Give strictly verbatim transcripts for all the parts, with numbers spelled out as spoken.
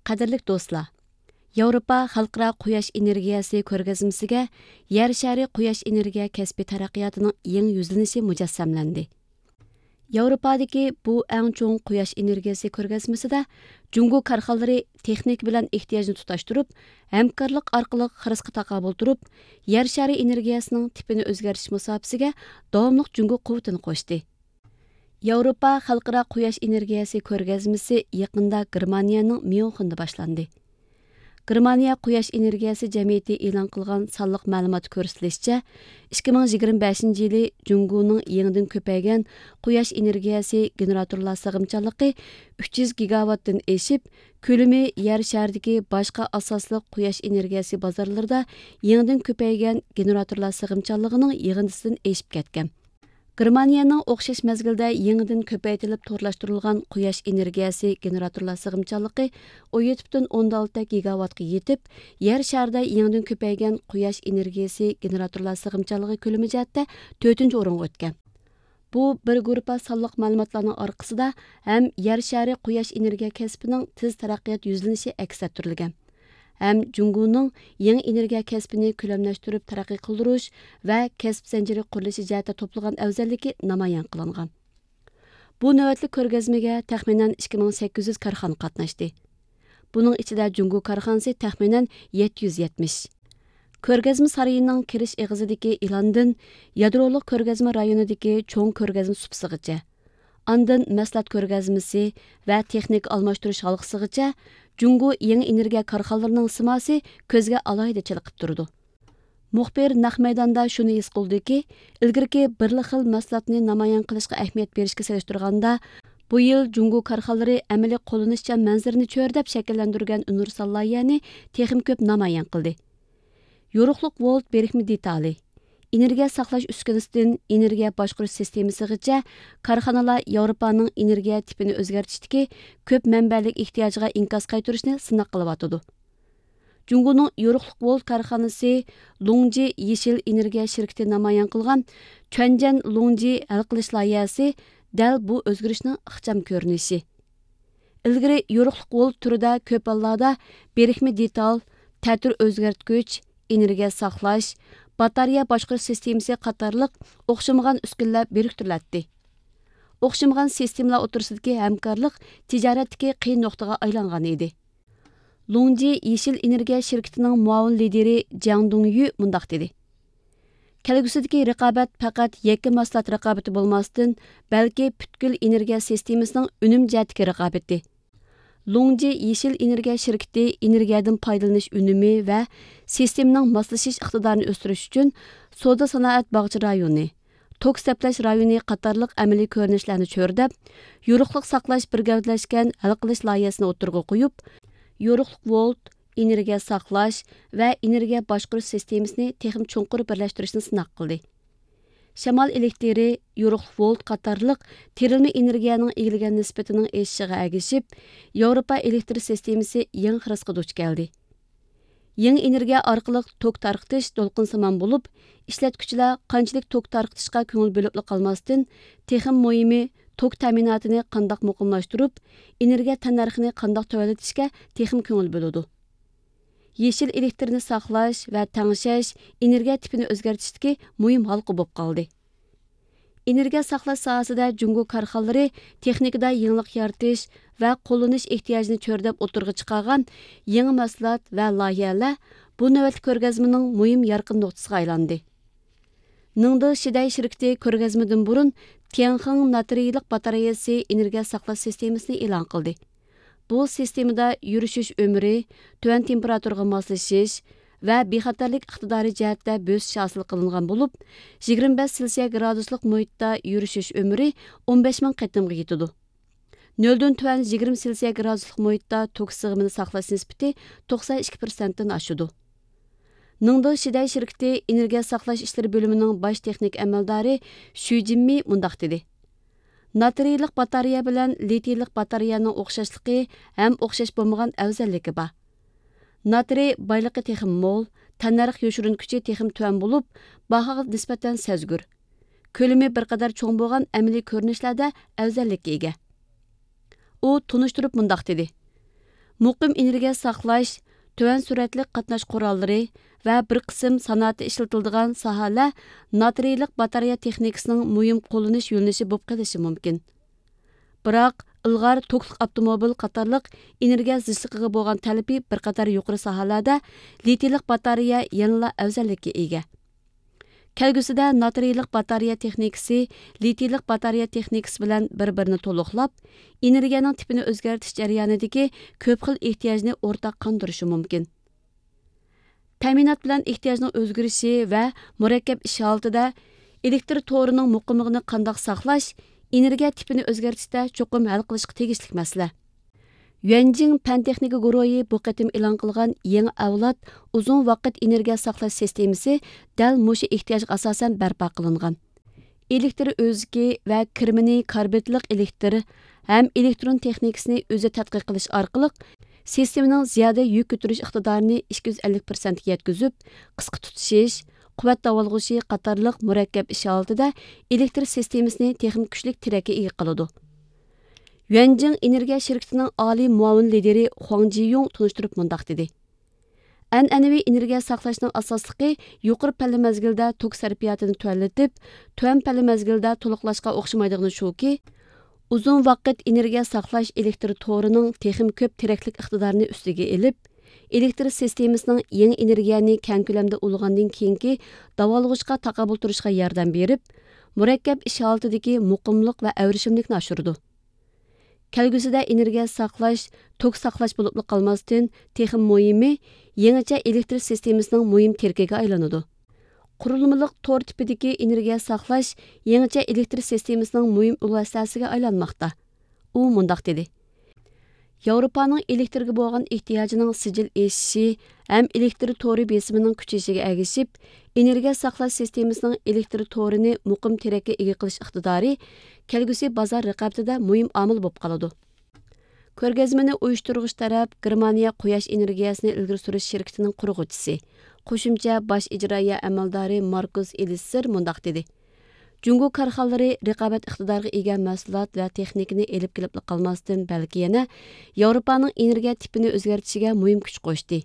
قەدىرلىك دوستلار، ياۋروپا خەلقئارا قۇياش ئېنېرگىيەسى كۆرگەزمىسىگە يەر شارى قۇياش ئېنېرگىيە كەسپى تەرەققىياتىنىڭ يېڭى يۈزلىنىشى مۇجەسسەملەندى. ياۋروپادىكى بۇ ئەڭ چوڭ قۇياش ئېنېرگىيەسى كۆرگەزمىسىدە جۇڭگو كارخانىلىرى تېخنىكا بىلەن ئېھتىياجنى تۇتاشتۇرۇپ، ھەمكارلىق ئارقىلىق خىرىسقا تاقابىل تۇرۇپ، يەر شارى ئېنېرگىيەسىنىڭ تىپىنى ئۆزگەرتىش مۇساپىسىگە داۋاملىق جۇڭگو قۇۋۋىتىنى قوشتى. ياۋروپا خەلقئارا قۇياش ئېنېرگىيەسى كۆرگەزمىسى يېقىندا گېرمانىيەنىڭ ميۇنخېندا باشلاندى. گېرمانىيە قۇياش ئېنېرگىيەسى جەمئىيىتى ئېلان قىلغان سانلىق مەلۇماتتا كۆرسىتىلىشىچە، ئىككى مىڭ يىگىرمە بەشىنچى يىلى جۇڭگونىڭ يېڭىدىن كۆپەيگەن قۇياش ئېنېرگىيەسى گېنېراتورلار سىغىمچانلىقى ئۈچ يۈز گىگاۋاتتىن ئېشىپ، كۆلىمى يەر شارىدىكى باشقا ئاساسلىق قۇياش ئېنېرگىيەسى بازارلىرىدا يېڭىدىن كۆپەيگەن گېنېراتورلار سىغىمچانلىقىنىڭ يىغىندىسىدىن ئېشىپ كەتكەن. گېرمانىيەنىڭ ئوخشاش مەزگىلدە يېڭىدىن كۆپەيتىلىپ تورلاشتۇرۇلغان قۇياش ئېنېرگىيەسى گېنېراتورلار سىغىمچانلىقى ئون يەتتە پۈتۈن ئوندىن ئالتە گىگاۋاتقا يېتىپ، يەر شارىدا يېڭىدىن كۆپەيگەن قۇياش ئېنېرگىيەسى گېنېراتورلار سىغىمچانلىقى كۆلىمى جەھەتتە تۆتىنچى ئورۇنغا ئۆتكەن. بۇ بىر گۇرۇپپا سانلىق مەلۇماتلارنىڭ ئارقىسىدا ھەم يەر شارى قۇياش ئېنېرگىيە كەسپىنىڭ تېز تەرەققىيات يۈزلىنىشى ئەكس ئەتتۈرۈلگەن، ھەم جۇڭگونىڭ يېڭى ئېنېرگىيە كەسپىنى كۆلەملەشتۈرۈپ تەرەققىي قىلدۇرۇش ۋە كەسىپ زەنجىرى قۇرۇلۇشى جەھەتتە توپلىغان ئەۋزەللىكى نامايان قىلىنغان. بۇ نۆۋەتلىك كۆرگەزمىگە تەخمىنەن ئىككى مىڭ سەككىز يۈز كارخانا قاتناشتى. بۇنىڭ ئىچىدە جۇڭگو كارخانىسى تەخمىنەن يەتتە يۈز يەتمىش. كۆرگەزمە سارىيىنىڭ كىرىش ئېغىزىدىكى ئېلاندىن يادرولۇق كۆرگەزمە رايونىدىكى چوڭ كۆرگەزمە سۇپىسىغىچە، ئاندىن مەھسۇلات كۆرگەزمىسى ۋە تېخنىكا ئالماشتۇرۇش ھالقىسىغىچە جۇڭگو يېڭى ئېنېرگىيە كارخانىلىرىنىڭ سىماسى كۆزگە ئالاھىدە چېلىقىپ تۇرىدۇ. مۇخبىر نەق مەيداندا شۇنى ھېس قىلدىكى، ئىلگىرىكى بىرلا خىل مەھسۇلاتنى نامايان قىلىشقا ئەھمىيەت بېرىشكە سېلىشتۇرغاندا، بۇ يىل جۇڭگو كارخانىلىرى ئەمەلىي قوللىنىشچان مەنزىرىنى چۆرىدەپ شەكىللەندۈرگەن ئۇنىۋېرسال لايىھەنى تېخىمۇ كۆپ نامايان قىلدى. يورۇقلۇق ۋولت بىرىكمە دېتالى، ئېنېرگىيە ساقلاش ئۈسكۈنىسىدىن ئېنېرگىيە باشقۇرۇش سىستېمىسىغىچە كارخانىلار ياۋروپانىڭ ئېنېرگىيە تىپىنى ئۆزگەرتىشتىكى كۆپ مەنبەلىك ئېھتىياجىغا ئىنكاس قايتۇرۇشنى سىناق قىلىۋاتىدۇ. جۇڭگونىڭ يورۇقلۇق ۋولت كارخانىسى لۇڭجى يېشىل ئېنېرگىيە شىركىتى نامايان قىلغان چۈەنجەن لۇڭجى ھەل قىلىش لايىھەسى دەل بۇ ئۆزگىرىشنىڭ ئىخچام كۆرۈنۈشى. ئىلگىرى يورۇقلۇق ۋولت تۈرىدە كۆپ ھاللاردا بىرىكمە دېتال، تەتۈر ئۆزگەرتكۈچ، ئېنېرگىيە ساقلاش، باتارېيە باشقۇرۇش سىستېمىسى قاتارلىق ئوخشىمىغان ئۈسكۈنىلەر بىرىكتۈرۈلەتتى. ئوخشىمىغان سىستېمىلار ئوتتۇرىسىدىكى ھەمكارلىق تىجارەتتىكى قىيىن نۇقتىغا ئايلانغان ئىدى. لۇڭجى يېشىل ئېنېرگىيە شىركىتىنىڭ مۇئاۋىن لىدىرى جياڭ دۇڭيۈ مۇنداق دېدى: كەلگۈسىدىكى رىقابەت پەقەت يەككە مەھسۇلات رىقابىتى بولماستىن، بەلكى پۈتكۈل ئېنېرگىيە سىستېمىسىنىڭ ئۈنۈم جەھەتتىكى رىقابىتى. لۇڭجى يېشىل ئېنېرگىيە شىركىتى ئېنېرگىيەدىن پايدىلىنىش ئۈنۈمى ۋە سىستېمىنىڭ ماسلىشىش ئىقتىدارىنى ئۆستۈرۈش ئۈچۈن سودا سانائەت باغچە رايونى، توك سەپلەش رايونى قاتارلىق ئەمەلىي كۆرۈنۈشلەرنى چۆرىدەپ، يورۇقلۇق ساقلاش بىر گەۋدىلەشكەن ھەل قىلىش لايىھەسىنى ئوتتۇرىغا قويۇپ، يورۇقلۇق ۋولت، ئېنېرگىيە ساقلاش ۋە ئېنېرگىيە باشقۇرۇش سىستېمىسىنى تېخىمۇ چوڭقۇر بىرلەشتۈرۈشنى سىناق قىلدى. شامال ئېلېكتىرى، يورۇقلۇق ۋولت قاتارلىق تېرىلمە ئېنېرگىيەنىڭ ئىگىلىگەن نىسبىتىنىڭ ئېشىشىغا ئەگىشىپ، ياۋروپا ئېلېكتر سىستېمىسى يېڭى خىرىسقا دۇچ كەلدى. يېڭى ئېنېرگىيە ئارقىلىق توك تارقىتىش دولقۇنسىمان بولۇپ، ئىشلەتكۈچىلەر قانچىلىك توك تارقىتىشقا كۆڭۈل بۆلۈپلا قالماستىن، تېخىمۇ مۇھىمى، توك تەمىناتىنى قانداق مۇقىملاشتۇرۇپ، ئېنېرگىيە تەننەرخىنى قانداق تۆۋەنلىتىشكە تېخىمۇ كۆڭۈل بۆلىدۇ. يېشىل ئېلېكتىرنى ساقلاش ۋە تەڭشەش، ئېنېرگىيە تىپىنى ئۆزگەرتىشتىكى مۇھىم ھالقا بولۇپ قالدى. ئېنېرگىيە ساقلاش ساھەسىدە جۇڭگو كارخانىلىرى تېخنىكىدا يېڭىلىق يارىتىش ۋە قوللىنىش ئېھتىياجىنى چۆرىدەپ ئوتتۇرىغا چىقارغان يېڭى مەھسۇلات ۋە لايىھەلەر بۇ نۆۋەتلىك كۆرگەزمىنىڭ مۇھىم يارقىن نۇقتىسىغا ئايلاندى. نىڭدې شىدەي شىركىتى كۆرگەزمىدىن بۇرۇن تيەنخېڭ ناترىيلىق باتارېيەسى ئېنېرگىيە ساقلاش سىستېمىسىنى ئېلان قىلدى. بۇ سىستېمىدا يۈرۈشۈش ئۆمرى، تۆۋەن تېمپېراتۇرىغا ماسلىشىش ۋە بىخەتەرلىك ئىقتىدارى جەھەتتە بۆسۈش ھاسىل قىلىنغان بولۇپ، يىگىرمە بەش سېلسىيە گرادۇسلۇق مۇھىتتا يۈرۈشۈش ئۆمرى ئون بەش مىڭ قېتىمغا يېتىدۇ. نۆلدىن تۆۋەن يىگىرمە سېلسىيە گرادۇسلۇق مۇھىتتا توك سىغىمىنى ساقلاش نىسبىتى توقسان ئىككى پىرسەنتتىن ئاشىدۇ. نىڭدې شىدەي شىركىتى ئېنېرگىيە ساقلاش ئىشلىرى بۆلۈمىنىڭ باش تېخنىك ئەمەلدارى شۈ جىنمى مۇنداق دېدى: ناترىيلىق باتارېيە بىلەن لىتىيلىق باتارېيەنىڭ ئوخشاشلىقى ھەم ئوخشاش بولمىغان ئەۋزەللىكى بار. ناترىي بايلىقى تېخىمۇ مول، تەننەرخ يوشۇرۇن كۈچى تېخىمۇ تۆۋەن بولۇپ، باھاغا نىسبەتەن سەزگۈر. كۆلىمى بىر قەدەر چوڭ بولغان ئەمەلىي كۆرۈنۈشلەردە ئەۋزەللىككە ئىگە. ئۇ تونۇشتۇرۇپ مۇنداق دېدى: مۇقىم ئېنېرگىيە ساقلاش، تۆۋەن سۈرئەتلىك قاتناش قوراللىرى ۋە بىر قىسىم سانائەتتە ئىشلىتىلىدىغان ساھەلەر ناترىيلىق باتارېيە تېخنىكىسىنىڭ مۇھىم قوللىنىش يۆنىلىشى بولۇپ قېلىشى مۇمكىن. بىراق، ئىلغار توكلۇق ئاپتوموبىل قاتارلىق ئېنېرگىيە زىچلىقىغا بولغان تەلىپى بىر قاتار يۇقىرى ساھەلەردە لىتىيلىق باتارېيە يەنىلا ئەۋزەللىككە ئىگە. كەلگۈسىدە ناترىيلىق باتارېيە تېخنىكىسى لىتىيلىق باتارېيە تېخنىكىسى بىلەن بىر-بىرىنى تولۇقلاپ، ئېنېرگىيەنىڭ تىپىنى ئۆزگەرتىش جەريانىدىكى كۆپ خىل ئېھتىياجنى ئورتاق قاندۇرۇشى مۇمكىن. تەمىنات بىلەن ئېھتىياجنىڭ ئۆزگىرىشى ۋە مۇرەككەپ ئىش ھالىتىدە ئېلېكتر تورىنىڭ مۇقىملىقىنى قانداق ساقلاش، ئېنېرگىيە تىپىنى ئۆزگەرتىشتە چوقۇم ھەل قىلىشقا تېگىشلىك مەسىلە. يۈەنجىڭ پەن تېخنىكا گۇرۇھى بۇ قېتىم ئېلان قىلغان يېڭى ئەۋلاد ئۇزۇن ۋاقىت ئېنېرگىيە ساقلاش سىستېمىسى دەل مۇشۇ ئېھتىياجغا ئاساسەن بەرپا قىلىنغان. ئېلېكتر ئۆزىكى ۋە كىرمىنى كاربىدلىق ئېلېكتر ھەم ئېلېكترون تېخنىكىسىنى ئۆزى تەتقىق قىلىش ئارقىلىق، سىستېمىنىڭ زىيادە يۈك كۆتۈرۈش ئىقتىدارىنى ئىككى يۈز ئەللىك پىرسەنتكە يەتكۈزۈپ، قىسقا تۇتىشىش، قۇۋۋەت داۋالغۇشى قاتارلىق مۇرەككەپ ئىش ھالىتىدە ئېلېكتر سىستېمىسىنى تېخىمۇ كۈچلۈك تىرەككە ئىگە قىلىدۇ. يۈەنجىڭ ئېنېرگىيە شىركىتىنىڭ ئالىي مۇئاۋىن لىدىرى خۇاڭ جىيۇڭ تونۇشتۇرۇپ مۇنداق دېدى: ئەنئەنىۋى ئېنېرگىيە ساقلاشنىڭ ئاساسلىقى يۇقىرى پەللە مەزگىلدە توك سەرپىياتىنى تۆۋەنلىتىپ، تۆۋەن پەللە مەزگىلدە تولۇقلاشقا ئوخشىمايدىغىنى شۇكى، ئۇزۇن ۋاقىت ئېنېرگىيە ساقلاش ئېلېكتر تورىنىڭ تېخىمۇ كۆپ تىرەكلىك ئىقتىدارىنى ئۈستىگە ئېلىپ، ئېلېكتر سىستېمىسىنىڭ يېڭى ئېنېرگىيەنى كەڭ كۆلەمدە ئۇلىغاندىن كېيىنكى داۋالغۇشقا تاقابىل تۇرۇشىغا ياردەم بېرىپ، مۇرەككەپ ئىش ھالىتىدىكى مۇقىملىق ۋە ئەۋرىشىملىكنى ئاشۇرىدۇ. كەلگۈسىدە ئېنېرگىيە ساقلاش، توك ساقلاش بولۇپلا قالماستىن، تېخىمۇ مۇھىمى، يېڭىچە ئېلېكتر سىستېمىسىنىڭ مۇھىم تىرىكىگە ئايلىنىدۇ. قۇرۇلمىلىق تور تىپىدىكى ئېنېرگىيە ساقلاش يېڭىچە ئېلېكتر سىستېمىسىنىڭ مۇھىم ئۇل ھەسسىسىگە ئايلانماقتا. ئۇ مۇنداق دېدى: ياۋروپانىڭ ئېلېكترگە بولغان ئېھتىياجىنىڭ سىجىل ئېشىشى ھەم ئېلېكتر تورى بېسىمىنىڭ كۈچىيىشىگە ئەگىشىپ، ئېنېرگىيە ساقلاش سىستېمىسىنىڭ ئېلېكتر تورىنى مۇقىم تىرەككە ئىگە قىلىش ئىقتىدارى كەلگۈسى بازار رىقابىتىدە مۇھىم ئامىل بولۇپ قالىدۇ. كۆرگەزمىنى ئۇيۇشتۇرغۇچى تەرەپ گېرمانىيە قۇياش ئېنېرگىيەسىنى ئىلگىرى سۈرۈش شىركىتىنىڭ قۇرغۇچىسى، قوشۇمچە باش ئىجرائىيە ئەمەلدارى ماركۇس ئېلىسسېر مۇنداق دېدى: جۇڭگو كارخانىلىرى رىقابەت ئىقتىدارىغا ئىگە مەھسۇلات ۋە تېخنىكىنى ئېلىپ كېلىپلا قالماستىن، بەلكى يەنە ياۋروپانىڭ ئېنېرگىيە تىپىنى ئۆزگەرتىشىگە مۇھىم كۈچ قوشتى.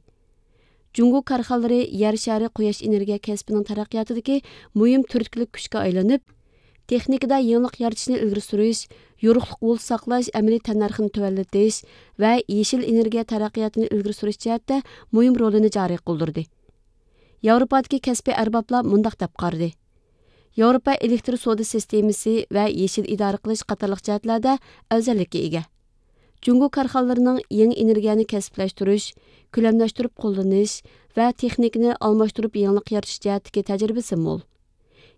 جۇڭگو كارخانىلىرى يەر شارى قۇياش ئېنېرگىيە كەسپىنىڭ تەرەققىياتىدىكى مۇھىم تۈرتكىلىك كۈچكە ئايلىنىپ، تېخنىكىدا يېڭىلىق يارىتىشنى ئىلگىرى سۈرۈش، يورۇقلۇق ھول ساقلاش ئەمەلىي تەننەرخىنى تۆۋەنلىتىش ۋە يېشىل ئېنېرگىيە تەرەققىياتىنى ئىلگىرى سۈرۈش جەھەتتە مۇھىم رولىنى جارى قىلدۇردى. ياۋروپادىكى كەسپىي ئەربابلار مۇنداق دەپ قارىدى: ياۋروپا ئېلېكتر سودا سىستېمىسى ۋە يېشىل ئىدارە قىلىش قاتارلىق جەھەتلەردە ئەۋزەللىككە ئىگە. جۇڭگو كارخانىلىرىنىڭ يېڭى ئېنېرگىيەنى كەسىپلەشتۈرۈش، كۆلەملەشتۈرۈپ قوللىنىش ۋە تېخنىكىنى ئالماشتۇرۇپ يېڭىلىق يارىتىش جەھەتتىكى تەجرىبىسى مول.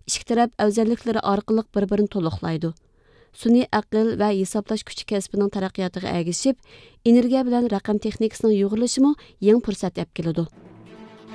ئىككى تەرەپ ئەۋزەللىكلىرى ئارقىلىق بىر-بىرىنى تولۇقلايدۇ. سۈنئىي ئەقىل ۋە ھېسابلاش كۈچى كەسپىنىڭ تەرەققىياتىغا ئەگىشىپ، ئېنېرگىيە بىلەن رەقەم تېخنىكىسىنىڭ يۇغۇرۇلۇشىمۇ يېڭى پۇرسەت ئەپ كېلىدۇ.